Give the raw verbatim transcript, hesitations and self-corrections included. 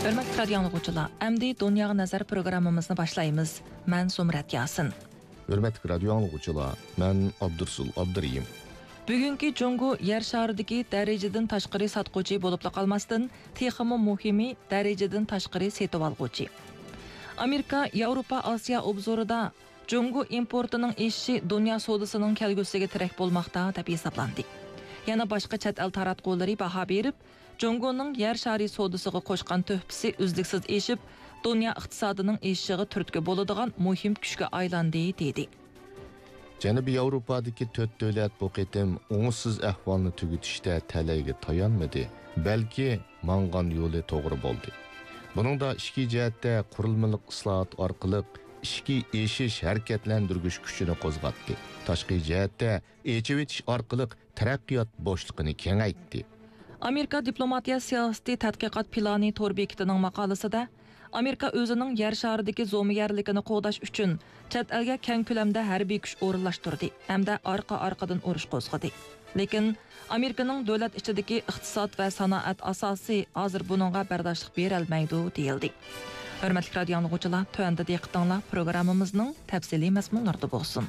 ھۆرمەتلىك رادىيو ئاڭلىغۇچىلار، ئەمدى دۇنياغا نەزەر پروگراممىمىزنى باشلايمىز. مەن زۇمرەت ياسىن. ھۆرمەتلىك رادىيو ئاڭلىغۇچىلار، مەن ئابدۇرسۇل ئابدۇرېھىم. بۈگۈنكى جۇڭگو يەر شارىدىكى دەرىجىدىن تاشقىرى ساتقۇچى بولۇپلا قالماستىن، تېخىمۇ مۇھىمى، دەرىجىدىن تاشقىرى سېتىۋالغۇچى. ئامېرىكا ياۋروپا ئاسىيا ئوبزورىدا جۇڭگو ئىمپورتىنىڭ ئېشىشى دۇنيا سودىسىنىڭ كەلگۈسىگە تىرەك بولماقتا، دەپ ھېسابلاندى. يەنە باشقا چەت ئەل تاراتقۇلىرى باھا بېرىپ، جۇڭگونىڭ يەر شارى سودىسىغا قوشقان تۆھپىسى ئۈزلۈكسىز ئېشىپ، دۇنيا ئىقتىسادىنىڭ ئېشىشىغا تۈرتكە بولىدىغان مۇھىم كۈچكە ئايلاندى، دېدى. جەنۇبىي ياۋروپادىكى تۆت دۆلەت بۇ قېتىم ئوڭۇشسىز ئەھۋالنى تۈگىتىشتە تەلەيگە تايانمىدى، بەلكى ماڭغان يولى توغرا بولدى. بۇنىڭدا ئىچكى جەھەتتە قۇرۇلمىلىق ئىسلاھات ئارقىلىق ئىچكى ئېشىش ھەرىكەتلەندۈرگۈچ كۈچىنى قوزغاتتى، تاشقى جەھەتتە ئېچىۋېتىش ئارقىلىق تەرەققىيات بوشلۇقىنى كېڭەيتتى. ئامېرىكا دىپلوماتىيە سىياسىتى تەتقىقات پىلانى تور بېكىتىنىڭ ماقالىسىدە، ئامېرىكا ئۆزىنىڭ يەر شارىدىكى زومىگەرلىكىنى قوغداش ئۈچۈن چەت ئەلگە كەڭ كۆلەمدە ھەربىي كۈچ ئورۇنلاشتۇردى ھەمدە ئارقا-ئارقىدىن ئۇرۇش قوزغىدى. لېكىن ئامېرىكىنىڭ دۆلەت ئىچىدىكى ئىقتىساد ۋە سانائەت ئاساسى ھازىر بۇنىڭغا بەرداشلىق بېرەلمەيدۇ، دېيىلدى. ھۆرمەتلىك رادىيو ئاڭلىغۇچىلار، تۆۋەندە دىققىتىڭلار پروگراممىمىزنىڭ تەپسىلىي مەزمۇنلىرىدا بولسۇن.